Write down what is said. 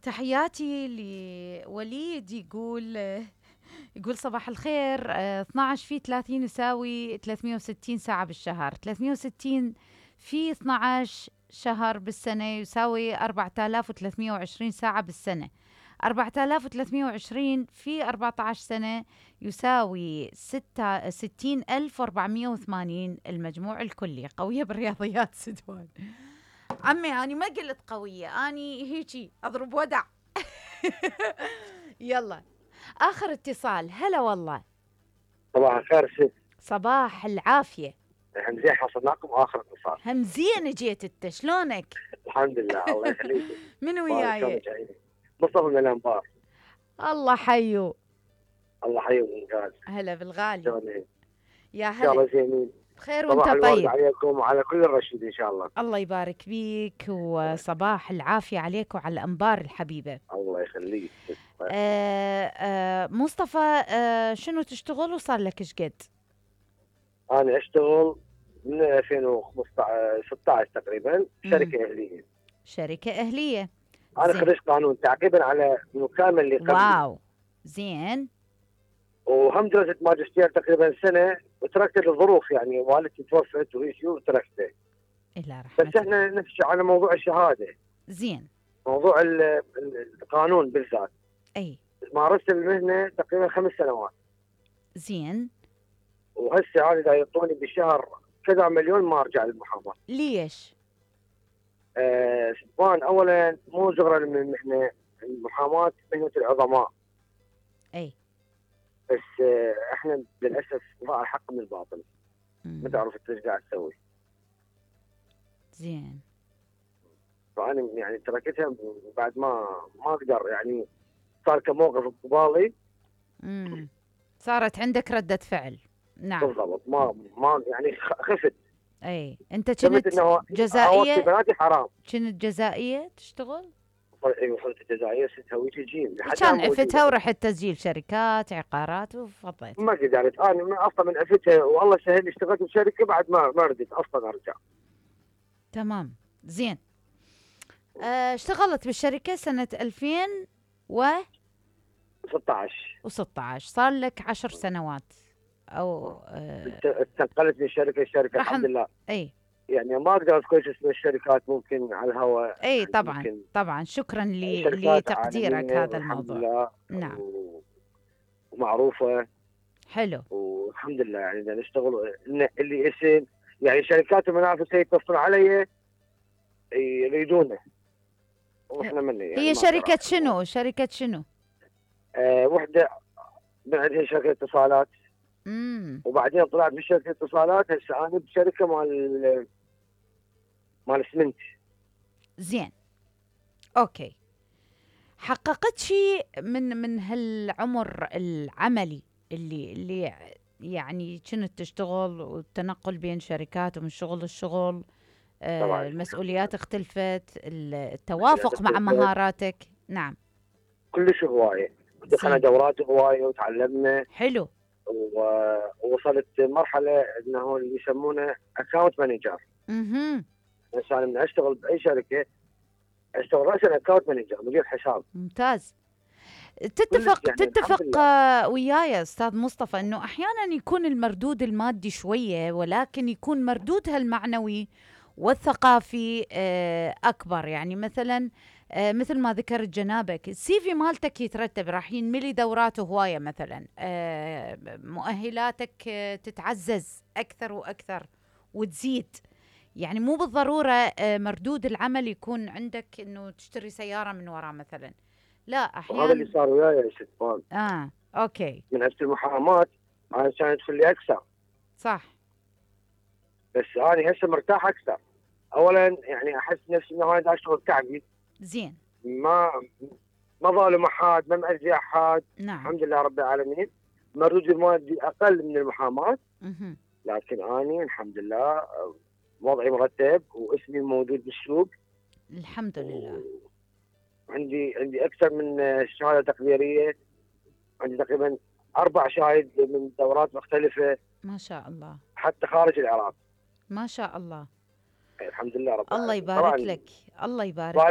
تحياتي لوليد، يقول صباح الخير. 12 في 30 يساوي 360 ساعة بالشهر، 360 في 12 شهر بالسنة يساوي 4320 ساعة بالسنة، 4320 في 14 سنة يساوي 60480. المجموع الكلي. قوية بالرياضيات سدوان. عمي أنا ما قلت قوية، أني هيجي أضرب ودع. يلا آخر اتصال. هلا والله. صباح الخير ست. صباح العافية. همزين حصلناكم آخر اتصال. همزين جيت انت، شلونك؟ الحمد لله الله يخليك. من وياي؟ مصطفى من الأنبار. الله حيو. الله حيو الإنجاز. هلا بالغالي. شلونك؟ يا إن شاء هلا. الله زينين. بخير وانت صباح الورد طيب. عليكم وعلى كل الرشيد إن شاء الله. الله يبارك فيك، وصباح العافية عليك وعلى الأنبار الحبيبة. الله يخليك. مصطفى، شنو تشتغل وصار لك ايش قد؟ أنا أشتغل من 2015 16 تقريبا شركة أهلية. شركة أهلية. أنا خريج قانون تعقيبا على المكالمة اللي قبل. واو زين. وهم درست ماجستير تقريبا سنة وتركت الظروف، يعني والدتي توفت وإيشي وتركته. إلا رحمة. بس احنا نمشي على موضوع الشهادة. زين. موضوع القانون بالذات. أي. مارست المهنة تقريبا 5 سنوات. زين. وهسه أنا إذا يعطوني بالشهر كذا مليون ما أرجع للمحاماة. ليش؟ سبحان أولا مو زغرا من المهنة، المحاماة مهنة العظماء. أي. بس احنا للأسف ضاع الحق من الباطل. ما تعرف ايش قاعد تسوي. زين. فأنا يعني تركتها بعد ما أقدر، يعني صار كموقف ببالي. صارت عندك ردة فعل. نعم بالضبط. ما يعني خفت. اي. انت كنت جزائية؟ بناتي حرام. كنت جزائية تشتغل؟ ايوه صرت جزائية، ستها ويجي جيم. كان عفتها ورحت تسجيل شركات عقارات وفضيت. ما قدرت انا اصلا من عفتها، والله سهل لي اشتغلت بشركة بعد ما ردت اصلا ارجع. تمام زين. اشتغلت بالشركة سنة 2016. صار لك 10 سنوات او استنقلت من الشركة الحمد لله. اي يعني ما اقدر اذكر اسم الشركات ممكن على الهواء. اي طبعا طبعا. شكرا لتقديرك هذا الموضوع. نعم. ومعروفة. حلو. والحمد لله يعني نشتغل اللي اسم، يعني شركات المنافسة يتصلون علي يريدونه واحنا مني. يعني هي شركة شنو؟ شركة شنو؟ وحدة من عندها شركة اتصالات. وبعدين طلعت بشركة اتصالات. هسه انا بشركة مال اسمنت. زين. اوكي. حققت شيء من هالعمر العملي اللي يعني كنت تشتغل والتنقل بين شركات ومن شغل للشغل؟ المسؤوليات اختلفت، التوافق مع مهاراتك. نعم. كلش هواية. دخلنا دورات هواية وتعلمنا. حلو. ووصلت مرحلة انه اللي يسمونه اكاونت مانجر. بس انا من اشتغل باي شركة اشتغل راسا اكاونت مانجر، مدير حساب. ممتاز. تتفق وياي استاذ مصطفى انه احيانا يكون المردود المادي شوية، ولكن يكون مردودها المعنوي والثقافي اكبر. يعني مثلا مثل ما ذكرت جنابك، السي في مالتك يترتب، راح ينملي دورات هواية مثلا، مؤهلاتك تتعزز اكثر واكثر وتزيد. يعني مو بالضرورة مردود العمل يكون عندك انه تشتري سيارة من وراء مثلا، لا احيانا. وهذا اللي صار وياي يا ست. اوكي. من هسه المحاماة انا كانت في اللي اكثر. صح. بس انا هسه مرتاح اكثر. اولا يعني احس نفسي انه انا اشتغل تعبي. زين. ما ظالم احد، ما مأذي احد. نعم. الحمد لله رب العالمين. مردودي المادي اقل من المحاماة. لكن اني الحمد لله وضعي مرتب واسمي موجود بالسوق. الحمد لله. عندي اكثر من شهاده تقديريه. عندي تقريبا 4 شهايد من دورات مختلفه. ما شاء الله. حتى خارج العراق. ما شاء الله. الحمد لله رب العالمين. الله يبارك لك. الله يبارك لك.